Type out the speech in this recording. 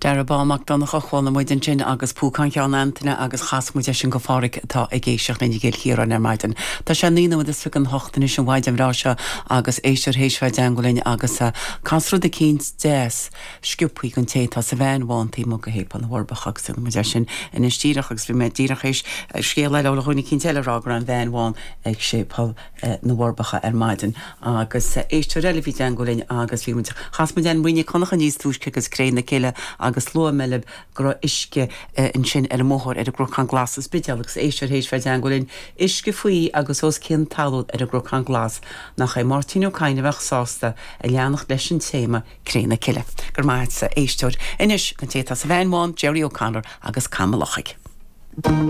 Darragh Bán Mac Donncha, chuala muid ansin agus Púcán Cheann Antaine agus chas muid é sin go Pháraic atá ag éisteacht linn i gCill Chiaráin ar maidin. Tá sé 9 nóiméad is 28 anois an mhaidin bhreá seo agus éisteoir théis bheith i dteangmháil linn agus cas rud eicínt deas sciobthaí don té atá sa veain bhán taobh amuigh de Shéipéal na bhForbacha agus déanfaidh muid é sin anois díreach agus bhí mé díreach théis scéal eile ó dhuine eicínt eile a rá go raibh an veain bhán ag Séipéal na bhForbacha ar maidin agus éisteoir eile a bhí i dteangmháil linn agus bhí muid, chas muid Anne Marie Nic Dhonncha níos túisce agus Cré na Cille agus luaigh mé libh go raibh uisce ansin ar an mbóthar ar an gCnocán Glas sa Spidéal agus éisteoir théis bheith i dteangmháil linn, uisce faoi agus os cionn talún ar an gCnocán Glas, nach é Máirtín Ó Cadhain a bheadh sásta a leanacht leis an téama Cré na Cille. Go raibh maith agatsa, éisteoir. Anois, an té atá sa veain bhán, Gerry O'Connor agus Cam an Lochaigh.